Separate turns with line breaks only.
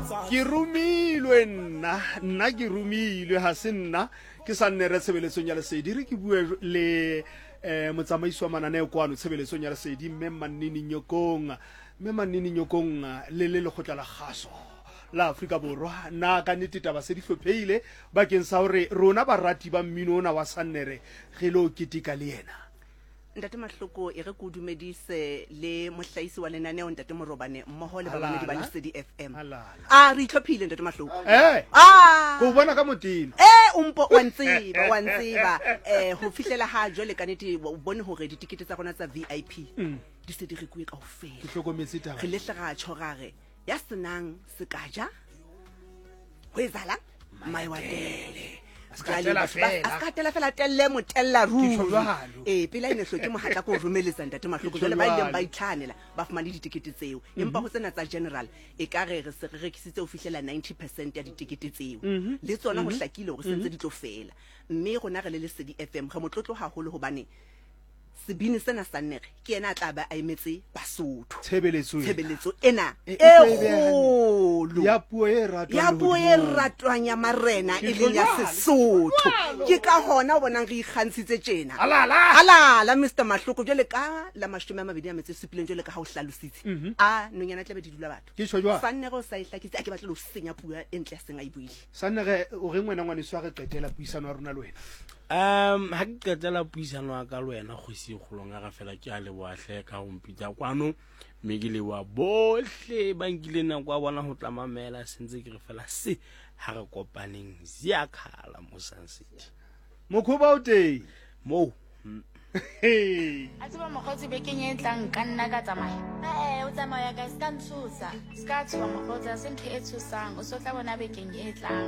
Ke romilwe nna, nna ke romilwe, ga se nna ke sa nne re tshebeletsong ya Lesedi. Re ke bue le eh motsamaisi wa mananeo kwano tshebeletsong ya Lesedi, mme Mannini Nyokong. Mme Mannini Nyokong le le lekgotla la kgaso la Afrika Borwa, na ka nnete taba se di hlopheile bakeng sa hore rona barati ba mmino ona wa Sannere re lo keteka le yena?
Ntate Mahloko, e re ke o dumedise le mohlahisi wa lenaneo Ntate Morobane mmoho le bamamedi ba
Halala.
Lesedi FM.
Halala.
A re itlhophile Ntate Mahloko.
Eh,
Ah!
ko bona ka motena.
Eh, o mpo wa ntseba, wa ntseba. Eh, ho fihlela ha jwale ka nete o bone hore ditikete tsa rona tsa VIP di se di rekuwe kaofela.
Ke hlokometse taba.
Re le hle ra tjho ra re ya senang sekaja ho etsahalang maiwatele.
A se ka tela fela.
A se ka tela fela telle motella ruri.
Ke tjho jwalo.
Ee, pele a ene hloke mohatla ko romeletsa Ntate Mahloko.
Ke tjho
Jwale ba ileng
jwalo.
ba itlhahanela ba fumane ditekete tseo. Empa ho tsena tsa general e ka re re se re rekisitse ho fihlela 90% ya ditekete tseo. Le tsona ho hlakile hore sentse di tlo fela. Mme rona re le Lesedi FM re motlotlo haholo hobane sebini sena sa Nnere ke yena a tla ba a emetse Basotho.
Tshebeletso ena.
Tshebeletso ena
E-
e
e tlo e beha hantle.
kgolo.
Ya puo e ratwang
Ya puo e
lehodimong.
ratwang ya marena
Ke
e leng ya
tlo jwalo,
Sesotho.
jwalo.
Ke ka hona o bonang re ikgantshitse tjena.
Halala.
Halala Mister Mahloko jwale ka la 27 jwale ka ha o hlalositse. A nonyana tlabe di dula batho.
Ke tjho jwalo.
Sannere o sa e hlakisitse a ke batle ho senya puo e ntle ya seng a e buile.
Sannere o reng wena ngwaneso ha re qetela puisano ya rona le wena?
Ha ke qetela puisano ya ka le wena kgosi e kgolong ya ka fela, ke a leboha hle ka ho mpitsa kwano, mme ke leboha bohle ba nkileng nako ya bona ho tla mamela. Sentse ke re fela se ha re kopaneng Ziyakhala mo Sun City.
Mokhoba o teng.
Moo.
Hey.
A tseba mokgotsi bekeng e tlang nka nna ka tsamaya.
Ee, o tsamaya kae? Se ka ntshosa.
Se ka tshoha mokgotsi, ha se ntho e tshosang. O so tla bona bekeng e tlang.